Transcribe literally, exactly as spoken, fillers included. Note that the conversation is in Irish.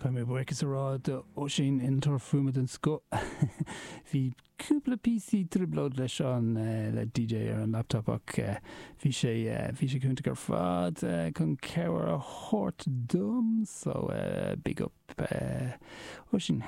Caithfidh mé buíochas a rá do Oisín innealtóir fuaime den scoth. Bhí cúpla píosa trioblóid leis an le D J ar an laptop, ach bhí sé bhí sé cúnta ar fad chun cabhair a thabhairt dom, so big up, Oisín.